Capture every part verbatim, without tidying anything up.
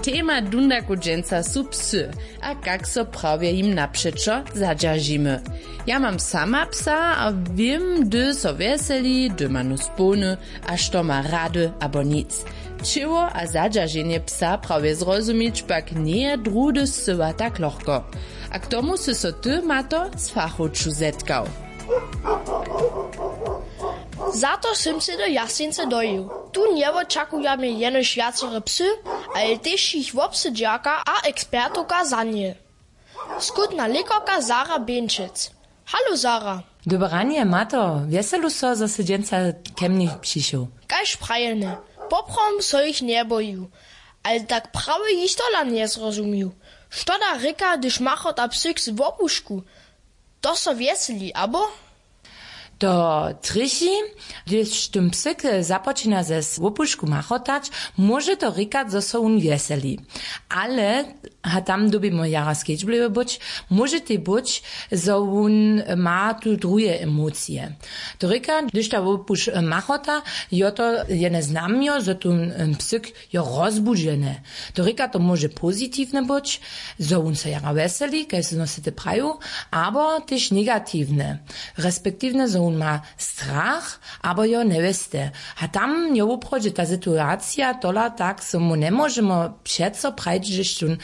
Tema dundaku dźensa su psy, a kak so prawje jim napřećo zadźeržimy. Ja mam sama psa a wěm, hdy so wjeseli, hdy ma nós połny, a što ma rady abo nic. Ćěło a zadźerženje psa prawje zrozumić pak njeje druhdy scyła tak lochko. A k tomu sy so ty, mato, z fachowču zetkał. Za to sym sej do Jasnicy dojił. Tu njewočakujamy jenož wjacore psy, ale tež jich wobsydźerka a ekspertowka za nje, skutna lěkarka Sara Běnčec. Halo Sara. Dobre ranje, mato. Wjeselu so, zo sy dźensa ke mnje přišoł. Kaž prajene, poprawom so jich njebojił, ale tak prawje jich tola njezrozumił. Što da rěka, hdyž machota psyk z wopušku? To so wjeseli abo? To trjechi, hdyž tón psyk započina ze swopušku machotać, móže to rěkać, zo so wón wjeseli. Ale, a tam dyrbimy jara skedźbliwy być, móže tej być, zo wón ma tu druhe emocije. To rěka, hdyž ta wopuš machota, jo to jene znamjo, zo tón psyk jo rozbudźene. To rěka, to móže pozitiwne być, zo wón so jara wjeseli, kaž smy sy te praju, abo tež negatiwne, respektiwne, zo wón ma strach abo jo njewěsty. A tam jo woprawdźe ta situacija tola tak, zo mu njemóžemy přeco prajć, hdyž tón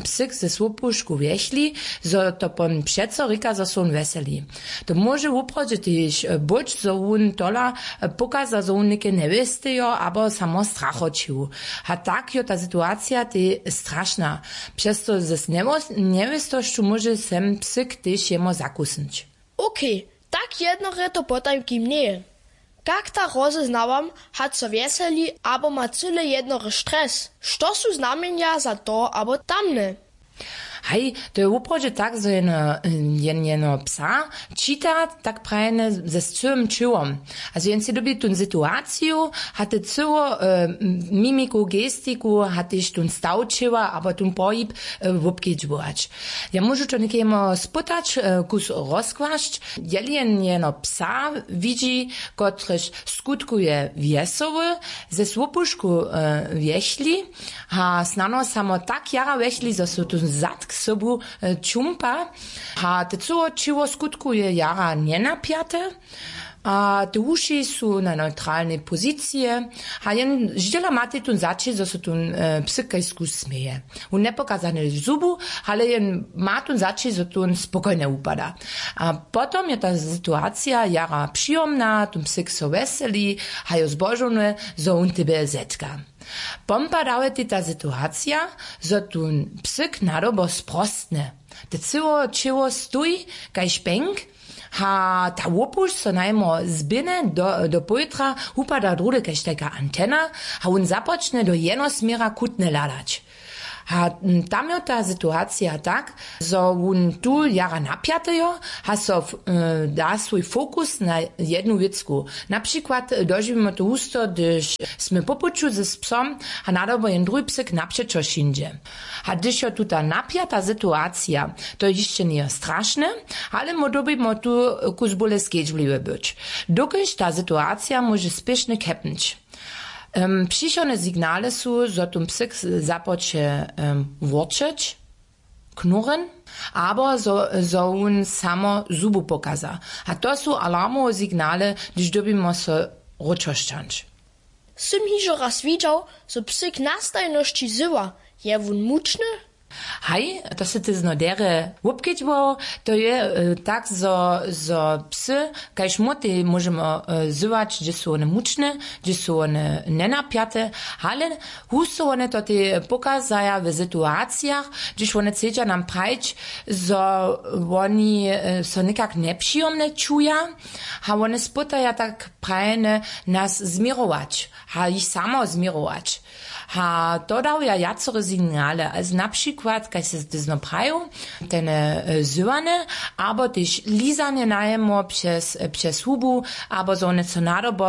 psyk ze swopušku wjechli, zo to pon přeco rěka, zo so wón wjeseli. To móže woprawdźe tež być, zo wón tola pokaza, zo wón něke njewěstejo abo samo strachoćił. A tak jo ta situacija tej strašna. Přez to z njewěstosću móže sem psyk tež jemu zakusnyć. Okej, tak jednore to potajkim njeje. Kak ta rozeznałam, hač so wjeseli abo ma cyle jednore stres? Što su znamjenja za to abo tamne? Haj, to je woprawdźe tak, zo jeno jen jeno psa čita tak prajene ze scyłym ćěłom. A zo jen sej dyrbi tón situaciju, hate cyło, mimiku, gestiku, hatež tón staw ćěła abo tón pohib wobkedźbować. Ja móžu to někemu spytać, kus rozkłasć. Jeli jen jeno psa widźi, kotryž skutkuje wjesoły, ze swopušku wjechli, a snano samo tak jara wjechli, zo so tu zad k sobu čumpa, a te cyło ćěło skutkuje jara njenapjate, a te wuši su na neutralnej pozicije, a jen ždźela matej tón zaći, zo so tón psyk kajsku směje. Wón njepokazane zubu, ale jen ma tón zaći, zo tón spokojnje wupada. A potom je ta situacija jara přijomna, tón psyk so wjeseli, a jo zbožowny, zo wón tebje zetka. Pompa dawetej ta situacija, zo tón psyk nadobo sprostne. Te cyło ćěło stoji kaž pjenk, a ta wopuš so najmo zběhne do powětra, wupada druhdy kaž tajka antena, a wón započne do jenosměra kutnje hladać. A tam jo ta situacija tak, zo wón tu jara napjatejo, a so da swój fokus na jednu wěcku. Na přikład dožiwimy to husto, hdyž smy po puću z psom, a nadobo jen druhi psyk napřećo šindźe. A hdyž jo tuta napjata situacija, to hišće njejo strašne, ale my dyrbimy tu kus bóle skedźbliwe być, dokelž ta situacija móže spěšnje kepnyć. Přichodne signale su, zo tón psyk započe wórčeć, knurren, abo zo wón samo zubu pokaza. A to su alarmowe signale, hdyž dyrbimy so wróćošćanć. Sym hižo raz widźał, zo psyk na stajnosći zywa. Je wón mučny? Haj, to sy ty zno derje wobkedźbował. To je tak, zo zo psy kaž mótej móžemy zywać, hdźe su wone mučne, hdźe su wone njenapjate, ale husto wone to tej pokazaja w situacijach, hdźež wone chcedźa nam prajić, zo woni so někak njepřijomnje čuja. A wone spytaja tak prajene nas změrować a jich samo změrować. A to dawja wjacore signale, na přikład kaž sy ty zno prajił, tene zywane, abo tež lizanje najemo přez hubu, abo zo wone so nadobo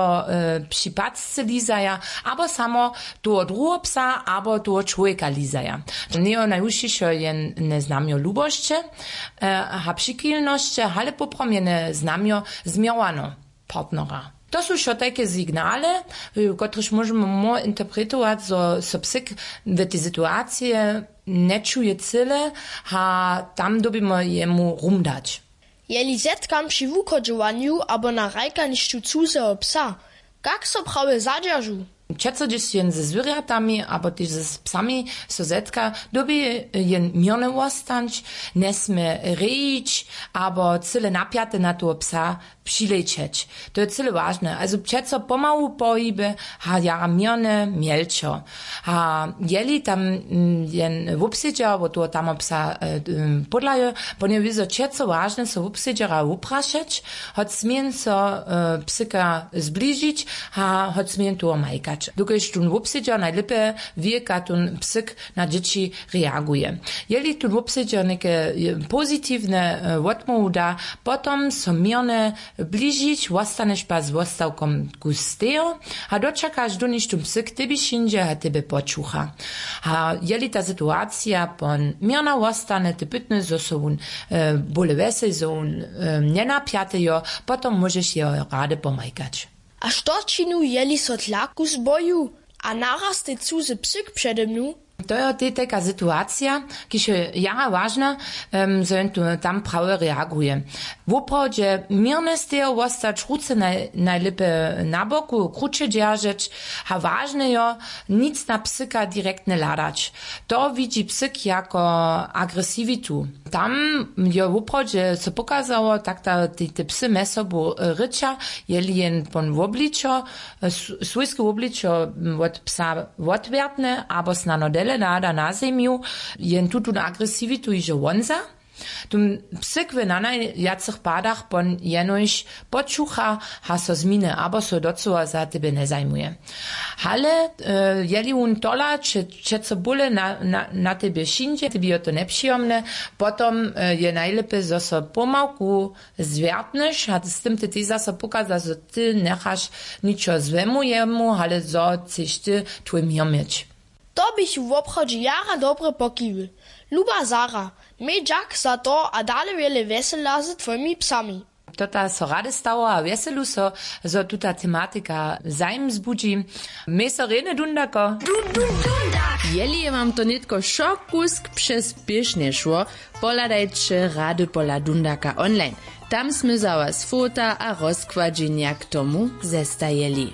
při pacce lizaja, abo samo toho druheho psa abo toho čłowjeka lizaja. Njejo najwušćišo jene znamjo lubosće a přichilnosće, ale poprawom jene znamjo změrowano partnera. To su wšo tajke signale, kotrež móžemy mór interpretować, zo so psyk w tej situacije nječuje cyle, a tam dyrbimy jemu rum dać. Jeli zetkam při wuchodźowanju abo na hrajkanišću cuzeho psa, kak so prawje zadźeržu? Přeco hdyž jen ze zwěrjatami abo tež z psami so zetka, dyrbi jen měrny wostanć, njesmě rejić abo cyle napjate na toho psa přilećeć. To je cyle wažne, ale přeco pomału pohiby, a jara měrne mjelčo. A jeli tam jen wobsedźa wot toho tamopsa podlajo, po njewi zo přeco wažne so wobsedźera wuprašeć, hoc směn so psyka zbližić, a hoc směn toho majkać, dokelž tón wobsedźer najlěpje wěka tón psyk na dźěći reaguje. Jeli tón wobsedźer něke pozitiwne wotmołwu da, potom so měrne bližić, wostaneš pa z wostawkom ku stejo, a dočakaš doniž tón psyk tebi šindźe a tebje počucha. A jeli ta situacija pon měrna wostane, te pytny zo so wón bóle wjesej zo wón njenapjatejo, potom móžeš jeho rady pomajkać. A što činu jeli so tlaku zboju a naraz te cuzy psyk přede mnu? To jo tej tajka situacija, kiž je jara wažna, zo jen tu tam prawje reaguje. Woprawdźe měrne stejo wostać ruce najlěpje na boku kruće dźeržeć, a wažne jo, nic na psyka direktnje hladać. To widźi psyk jako agresiwitu. Tam jo woprawdźe so pokazało tak da te psy mjez sobu rěča, jeli jen pon wobličo, swójske wobličo wot psa wotwjertne abo snano dele nada na zemju, jen tutón agresiwitu hižo wonza. Tón psyk w nanajwjacych padach pon jenož počucha, a so zminy abo so docyła za tebje njezajmuje. Ale jeli wón tola přeco bóle na tebje šindźe, tebi jo to njepřijomne, potom je najlěpje zo so pomałku zwjertneš a z tym ty tež zaso pokaza zo ty njechaš ničo złemu jemu, ale zo chceš ty twój měr měć. To běchu woprawdźe jara dobre pokiwy. Luba zara, měj dźak za to a dale wjele wjesela z twójimi psami. To ta so rady stało a wjeselu so, zo tuta tematika zajim zbudźi. Měj so rjeny dundako. Jeli je wam to nětko wšo kusk přez pěšnje šło, pohladajće rady pola dundaka online. Tam smy za was fota a rozkładźenja k tomu zestajeli.